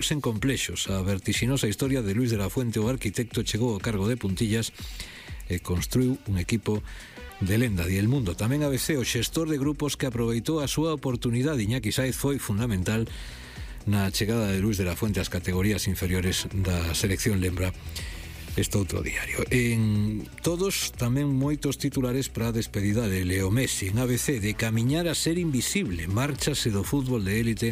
sen complexos. A vertixinosa historia de Luis de la Fuente, o arquitecto, chegou ao cargo de puntillas e construiu un equipo de lenda. Di El Mundo. Tamén ABC, o xestor de grupos que aproveitou a súa oportunidade. Iñaki Sáez foi fundamental na chegada de Luis de la Fuente ás categorías inferiores da selección, lembra este outro diario. En todos tamén moitos titulares para a despedida de Leo Messi. En ABC, de camiñar a ser invisible, márchase do fútbol de élite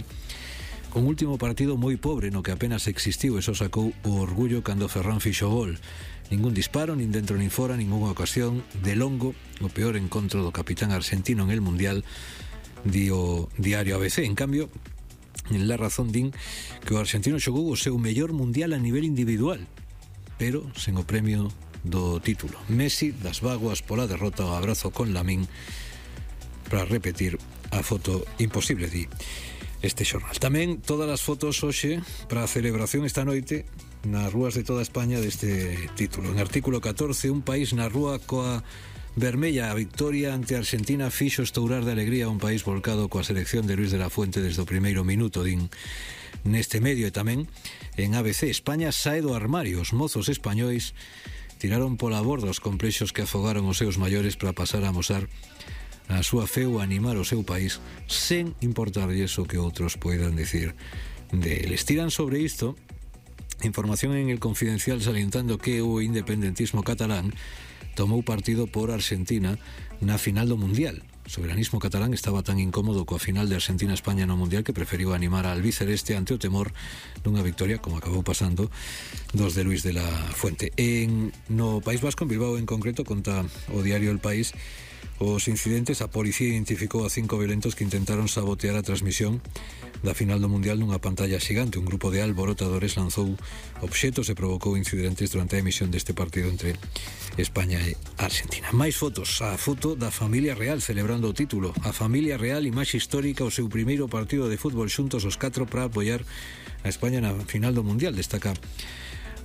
con último partido moi pobre no que apenas existiu e só sacou o orgullo cando Ferran fixo gol. Ningún disparo, nin dentro nin fora, ningunha ocasión. De longo, o peor encontro do capitán argentino en el Mundial, di o diario ABC. En cambio, en La Razón din que o argentino xogou o seu mellor Mundial a nivel individual, pero sen o premio do título. Messi, das vaguas pola derrota, o abrazo con Lamín, para repetir a foto imposible, di este xornal. Tamén todas as fotos hoxe para a celebración esta noite nas rúas de toda España deste título. En artículo 14, un país na rúa coa vermella. A victoria ante Argentina fixo estourar de alegría un país volcado coa selección de Luis de la Fuente desde o primeiro minuto, din neste medio. E tamén en ABC, España sae do armario. Os mozos españois tiraron pola borda os complexos que afogaron os seus maiores para pasar a amosar a súa fe ou animar o seu país sen importarlles o que outros poidan decir deles. Tiran sobre isto información en El Confidencial salientando que o independentismo catalán tomou partido por Argentina na final do Mundial. O soberanismo catalán estaba tan incómodo coa final de Argentina-España no Mundial que preferiu animar a albiceleste ante o temor dunha victoria, como acabou pasando, dos de Luis de la Fuente. No País Vasco, en Bilbao en concreto, conta o diario El País os incidentes. A policía identificou a 5 violentos que intentaron sabotear a transmisión da final do Mundial nunha pantalla xigante. Un grupo de alborotadores lanzou obxetos e provocou incidentes durante a emisión deste partido entre España e Argentina. Máis fotos. A foto da familia real celebrando o título. A familia real, imaxe histórica, o seu primeiro partido de fútbol xuntos os 4 para apoiar a España na final do Mundial. Destaca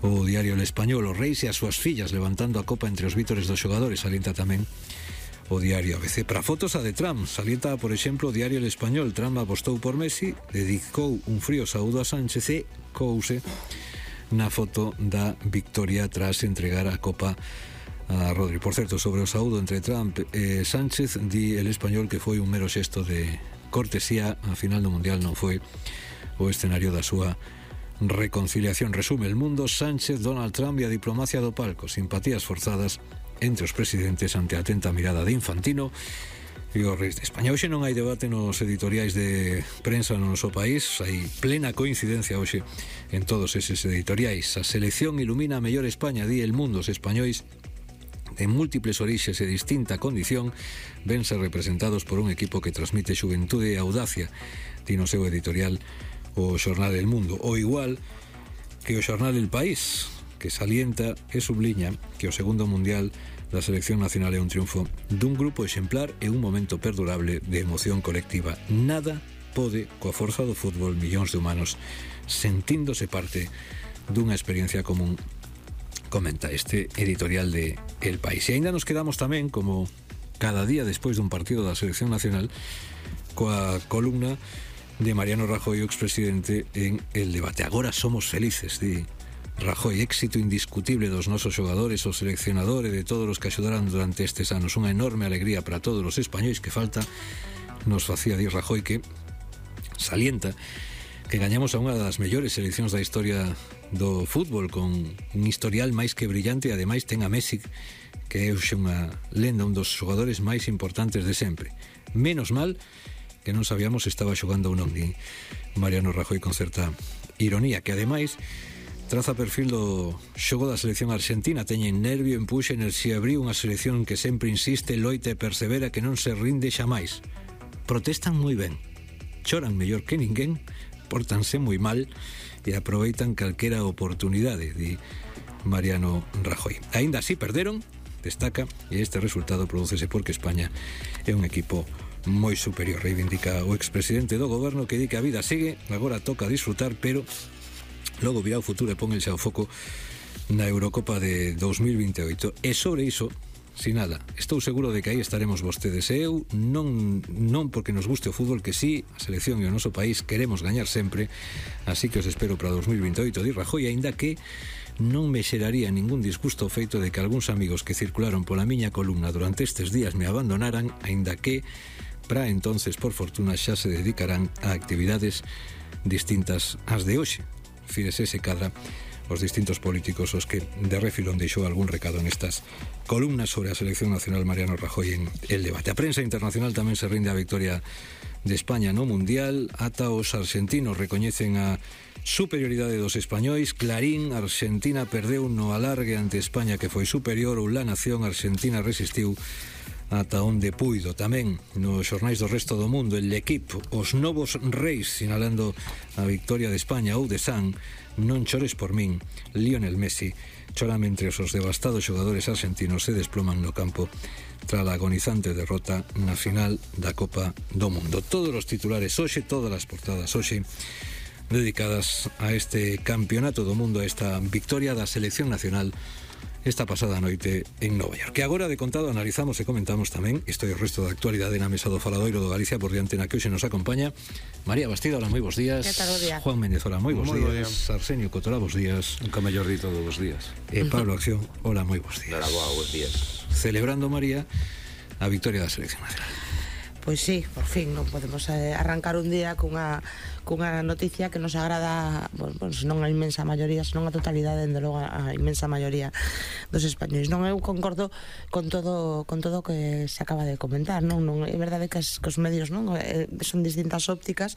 o diario El Español. Os reis e as súas fillas levantando a copa entre os vítores dos xogadores. Salienta tamén o diario ABC. Para fotos a de Trump, salienta, por exemplo, o diario El Español. Trump apostou por Messi, dedicou un frío saúdo a Sánchez e couse na foto da victoria tras entregar a copa a Rodri. Por certo, sobre o saúdo entre Trump e Sánchez, di El Español que foi un mero xesto de cortesía. A final do Mundial non foi o escenario da súa reconciliación. Resume El Mundo: Sánchez, Donald Trump e a diplomacia do palco. Simpatías forzadas entre os presidentes ante a atenta mirada de Infantino e os reis de España. Hoxe non hai debate nos editoriais de prensa no noso país. Hai plena coincidencia hoxe en todos eses editoriais. A selección ilumina a mellor España, di El Mundo. Os españois de múltiples orixes e distinta condición vense representados por un equipo que transmite xuventude e audacia, di no seu editorial o xornal El Mundo. O igual que o xornal El País, que salienta e subliña que o segundo Mundial da selección nacional é un triunfo dun grupo exemplar e un momento perdurable de emoción colectiva. Nada pode coa forza do fútbol, millóns de humanos sentíndose parte dunha experiencia común, comenta este editorial de El País. E ainda nos quedamos tamén, como cada día despois dun partido da selección nacional, coa columna de Mariano Rajoy, o expresidente, en El Debate. Agora somos felices, di Rajoy. Éxito indiscutible dos nosos xogadores, o seleccionador e de todos os que axudaran durante estes anos. Unha enorme alegría para todos os españois. Que falta nos facía, di Rajoy, que salienta que gañamos a unha das mellores seleccións da historia do fútbol, con un historial máis que brillante, e ademais ten a Messi, que é unha lenda, un dos xogadores máis importantes de sempre. Menos mal que non sabíamos se estaba xogando ou non, di Mariano Rajoy con certa ironía, que ademais traza perfil do xogo da selección argentina. Teñen nervio, empuxe, enerxía, brío, unha selección que sempre insiste, loita e persevera, que non se rinde xamais. Protestan moi ben, choran mellor que ninguén, pórtanse moi mal e aproveitan calquera oportunidade, di Mariano Rajoy. Aínda así perderon, destaca, e este resultado prodúcese porque España é un equipo moi superior. Reivindica o expresidente do goberno, que di que a vida sigue, agora toca disfrutar, pero logo virá o futuro e pónganse ao foco na Eurocopa de 2028. E sobre iso sinala: estou seguro de que aí estaremos vostedes e eu, non porque nos guste o fútbol, que sí, a selección e o noso país queremos gañar sempre, así que os espero para 2028, di Rajoy, aínda que non me xeraría ningún disgusto o feito de que algúns amigos que circularon pola miña columna durante estes días me abandonaran, aínda que para entonces, por fortuna, xa se dedicarán a actividades distintas ás de hoxe. Fíjese se cadra os distintos políticos os que de refilón deixou algún recado nestas columnas sobre a selección nacional Mariano Rajoy en El Debate. A prensa internacional tamén se rinde a victoria de España no Mundial. Ata os argentinos recoñecen a superioridade dos españois. Clarín: Argentina perdeu no alargue ante España, que foi superior. Ou La Nación: Argentina resistiu ata onde puido. Tamén nos xornais do resto do mundo, El Equipo: os novos reis, sinalando a victoria de España. Ou The Sun: non chores por min, Lionel Messi chora mentre os devastados xogadores argentinos se desploman no campo tras a agonizante derrota na final da Copa do Mundo. Todos os titulares hoxe, todas as portadas hoxe dedicadas a este campeonato do mundo, a esta victoria da selección nacional esta pasada noite en Nova York. Que agora, de contado, analizamos e comentamos tamén isto e o resto da actualidade na mesa do Faladoiro do Galicia, por diante na que hoxe nos acompaña María Bastida. Hola, moi bons días. Que tal o día? Juan Méndez, hola, moi bons días. Arsenio Cotorá, bons días. Nunca mellor dito de bons días. Pablo Acción, hola, moi bons días. Hola, bons días. Celebrando, María, a victoria da selección nacional. Pois sí, por fin non podemos arrancar un día cunha noticia que nos agrada, bueno, senón a inmensa maioría, senón a totalidade, dende logo a inmensa maioría dos españois. Non, eu concordo con todo o que se acaba de comentar, non é verdade que os medios, non, son distintas ópticas,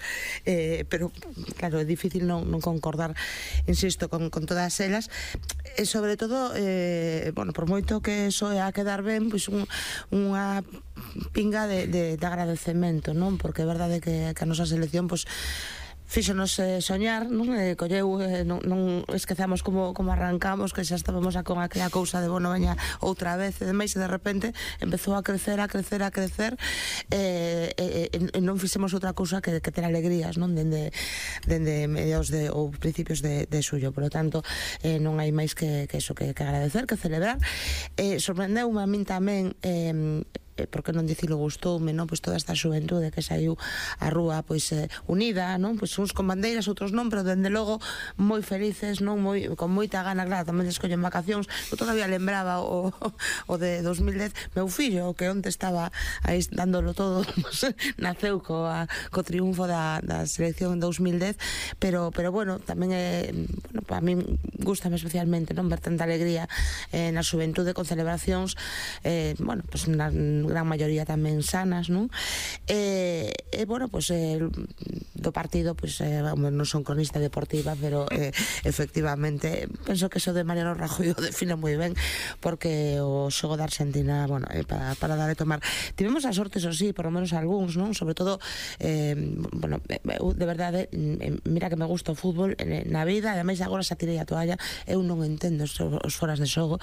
pero claro, é difícil non concordar, insisto, con todas elas, e sobre todo, bueno, por moito que soe a quedar ben, pois unha pinga de agradecemento, non? Porque é verdade que a nosa selección, pois, fíxonos soñar, non? Colleu, non esquezamos como arrancamos, que xa estábamos con aquela cousa de bueno, veña outra vez, e demais, e de repente empezou a crecer, e non fixemos outra cousa que ter alegrías, non? Dende mediados ou principios de xullo. Por lo tanto, non hai máis que eso, que agradecer, que celebrar. Sorprendeume a min tamén, porque non dicilo, gustoume, non? Pois toda esta xuventude que saiu á rúa, pois unida, non? Pois uns con bandeiras, outros non, pero dende logo moi felices, non? Con moita gana, claro, tamén escollen vacacións. Eu todavía lembraba o de 2010, meu fillo, que onte estaba aí dándolo todo, pues, naceu co triunfo da selección en 2010, pero bueno, tamén bueno, para min gustame especialmente, non? Ver tanta alegría na xuventude, con celebracións, bueno, pues na gran maioría tamén sanas, non? Bueno, pues do partido, pues non son cronista deportiva, pero efectivamente penso que eso de Mariano Rajoy o define moi ben, porque o xogo da Argentina, bueno, para dar e tomar. Tivemos a sorte, eso sí, por lo menos algúns, non? Sobre todo, bueno, de verdade, mira que me gusta o fútbol na vida, ademais agora xa tirei a toalla, eu non entendo os foras de xogo,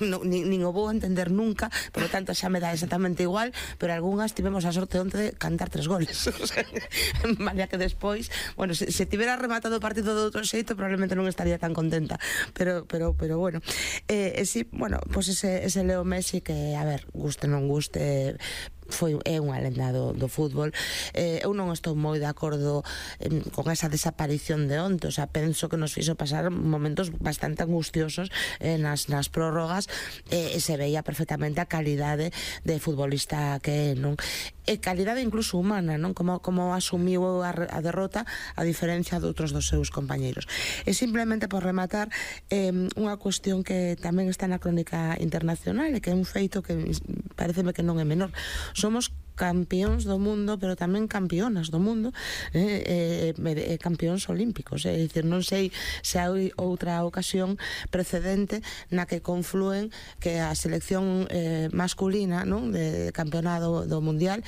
nin o vou entender nunca, por lo tanto xa me dá exactamente igual, pero algunhas tivemos a sorte onte de cantar 3 goles. O sea, vale que despois, bueno, se tivera rematado o partido de outro xeito, probablemente non estaría tan contenta, pero bueno, sí, bueno, pues ese Leo Messi que, a ver, guste non guste, é unha lenda do fútbol. Eu non estou moi de acordo con esa desaparición de onte, o sea, penso que nos fixo pasar momentos bastante angustiosos nas prórrogas, e se veía perfectamente a calidade de futbolista que non, e calidade incluso humana, non? Como asumiu a derrota, a diferencia de outros dos seus compañeiros. E simplemente por rematar, unha cuestión que tamén está na crónica internacional, e que é un feito que pareceme que non é menor. Somos campións do mundo, pero tamén campeonas do mundo, campións olímpicos, é dicir, non sei se hai outra ocasión precedente na que conflúen que a selección masculina, non, de campeonato do mundial,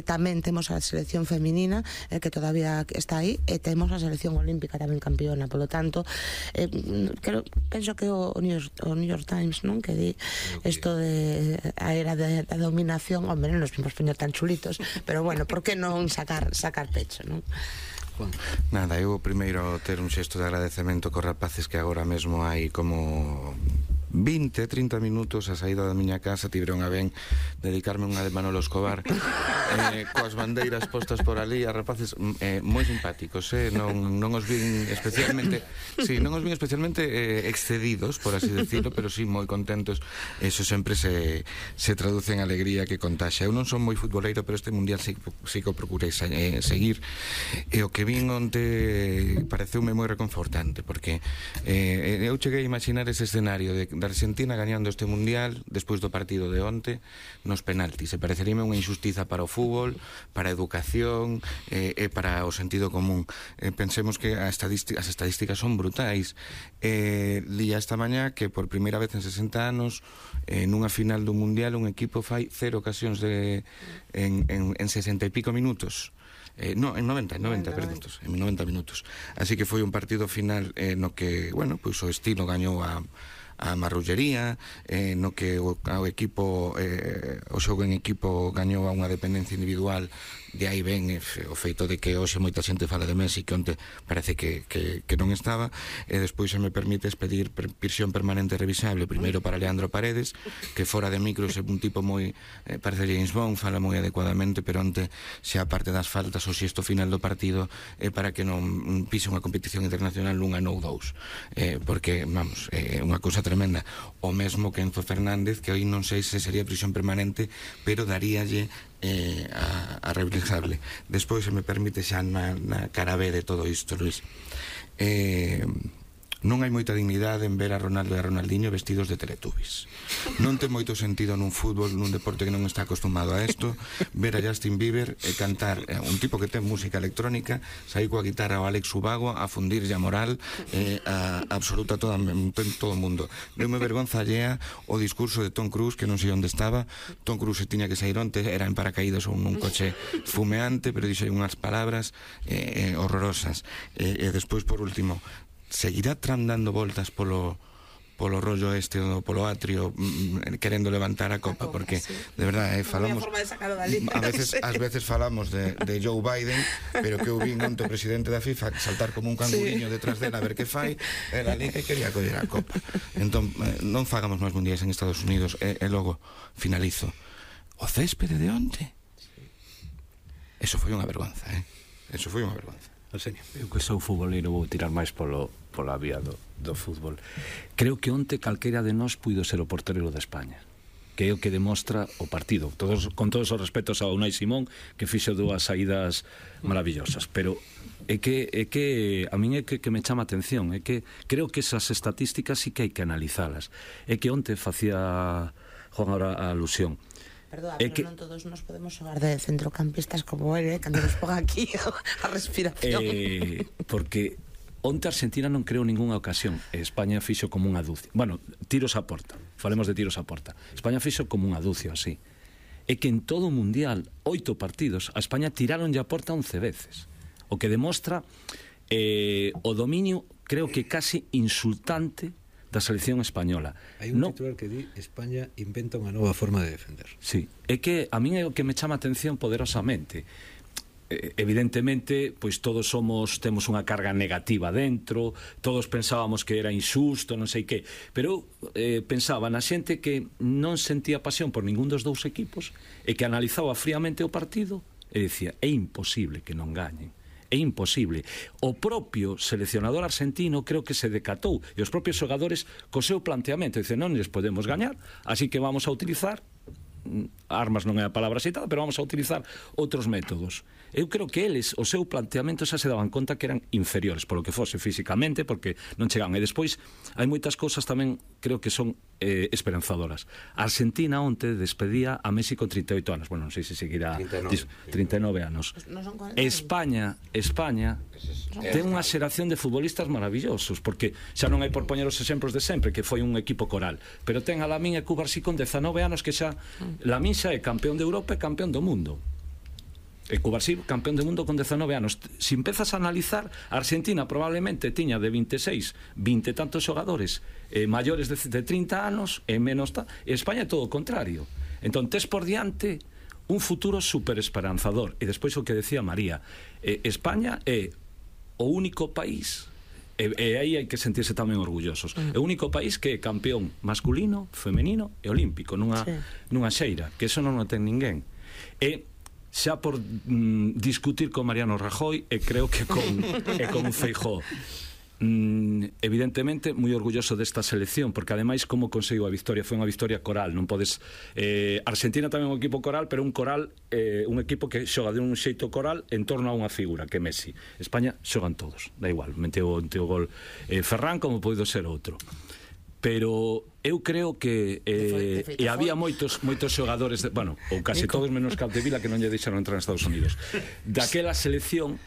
tamén temos a selección feminina, que todavía está aí, e temos a selección olímpica tamén campeona. Por lo tanto, penso que o New York Times, non, que di isto de a era da dominación, hombre, non nos vimos tan chulitos, pero bueno, por que non sacar pecho, non? Nada, eu primeiro ter un xesto de agradecemento cos rapaces que agora mesmo hai como 20, 30 minutos a saída da miña casa tiveron a ben dedicarme unha de Manolo Escobar coas bandeiras postas por ali, a rapaces moi simpáticos, non os vin especialmente excedidos, por así decirlo, pero sí moi contentos. Eso sempre se traduce en alegría que contaxa. Eu non son moi futboleiro, pero este mundial sí que o procurei seguir, e o que vin onte pareceume moi reconfortante, porque eu cheguei a imaginar ese escenario de Argentina gañando este mundial despois do partido de onte nos penaltis, e pareceríame unha injustiza para o fútbol, para a educación e para o sentido común. Pensemos que as estadísticas son brutais. Lía esta mañá que por primeira vez en 60 anos nunha final do mundial un equipo fai 0 ocasións en 60 e pico minutos. No, en 90 minutos. Así que foi un partido final no que, bueno, pois o estilo gañou a marrullería, no que o equipo o xogo en equipo gañou a unha dependencia individual. De aí ven o feito de que hoxe moita xente fala de Messi, que onte parece que non estaba. E despois se me permites pedir prisión permanente revisable, primeiro para Leandro Paredes, que fora de micros é un tipo moi parece James Bond, fala moi adecuadamente, pero onte se a parte das faltas o xesto final do partido é para que non pise unha competición internacional nunha ou dous, porque, vamos, é unha cousa tremenda. O mesmo que Enzo Fernández, que hoy non sei se sería prisión permanente, pero daríalle a revisable. Despois, se me permite, xa na cara B de todo isto, Luis, non hai moita dignidade en ver a Ronaldo e a Ronaldinho vestidos de Teletubbies. Non ten moito sentido nun fútbol, nun deporte que non está acostumado a isto, ver a Justin Bieber e cantar, un tipo que ten música electrónica, sair coa guitarra ao Alex Ubago a fundirlle a moral a absoluta todo o mundo. Deume vergonza allea o discurso de Tom Cruise, que non sei onde estaba. Tom Cruise tiña que sair onte, era en paracaídas ou nun coche fumeante, pero dixo unhas palabras horrorosas. E despois, por último, seguirá Trump dando voltas polo rollo este, polo atrio, querendo levantar a copa, porque de verdade falamos ás veces falamos de Joe Biden, pero que eu vin onte o presidente da FIFA saltar como un canguriño detrás dela a ver que fai, era ali que quería coller a copa. Entón, non fagamos máis mundiais en Estados Unidos. E logo finalizo, o céspede de onte, eso foi unha vergonza, eso foi unha vergonza. Eu que sou futboleiro vou tirar máis pola vía do fútbol. Creo que onte calquera de nós puido ser o portero de España, que é o que demostra o partido, con todos os respetos a Unai Simón, que fixo dúas saídas maravillosas, pero é que a min é que me chama a atención, é que creo que esas estatísticas sí que hai que analizalas. É que onte facía Juan ahora a alusión. Perdón, pero non todos nos podemos xogar de centrocampistas como ele, cando nos ponga aquí a respiración. Porque onte Argentina non creou ningunha ocasión, e España fixo como unha dúcia. Bueno, tiros a porta, falemos de tiros a porta. España fixo como unha dúcia, así. É que en todo o mundial, 8 partidos, a España tiraron a porta 11 veces. O que demostra o dominio, creo que casi insultante, da selección española. Hai un titular que di España inventa unha nova forma de defender. Sí, é que a min é o que me chama a atención poderosamente. Evidentemente, pois todos temos unha carga negativa dentro, todos pensábamos que era injusto, non sei que, pero pensaba na xente que non sentía pasión por ningún dos dous equipos e que analizaba fríamente o partido e dicía, é imposible que non gañen. É imposible. O propio seleccionador argentino creo que se decatou, e os propios xogadores co seu planteamento dicen, non les podemos gañar, así que vamos a utilizar armas, non é a palabra citada, pero vamos a utilizar outros métodos. Eu creo que eles, o seu planteamento, xa se daban conta que eran inferiores, polo que fose físicamente, porque non chegaban. E despois hai moitas cousas tamén creo que son esperanzadoras. A Argentina onte despedía a Messi con 38 anos. Bueno, non sei se seguirá 39 anos. España ten unha xeración de futbolistas maravillosos, porque xa non hai por poñer os exemplos de sempre, que foi un equipo coral, pero ten a Lamine e Cubarsí con 19 anos, que xa Lamine xa é campeón de Europa e campeón do mundo. E Cubarsí, campeón do mundo con 19 anos. Se empezas a analizar, a Argentina probablemente tiña de 26, 20 e tantos xogadores maiores de 30 anos e menos e España é todo o contrario. Entón, tes por diante un futuro super esperanzador. E despois o que decía María, España é o único país E aí hai que sentirse tamén orgullosos. É o único país que é campeón masculino, femenino e olímpico nunha xeira, que eso non o ten ninguén. E xa por discutir con Mariano Rajoy e creo que con Feijóo, evidentemente moi orgulloso desta selección, porque ademais como conseguiu a victoria, foi unha victoria coral, non podes Argentina tamén é un equipo coral, pero un coral un equipo que xoga de un xeito coral en torno a unha figura, que é Messi. España xogan todos, da igual, meteu o gol Ferran como poido ser outro. Pero eu creo que e había moitos xogadores ou case todos menos Capdevila que non lle deixaron entrar en Estados Unidos daquela selección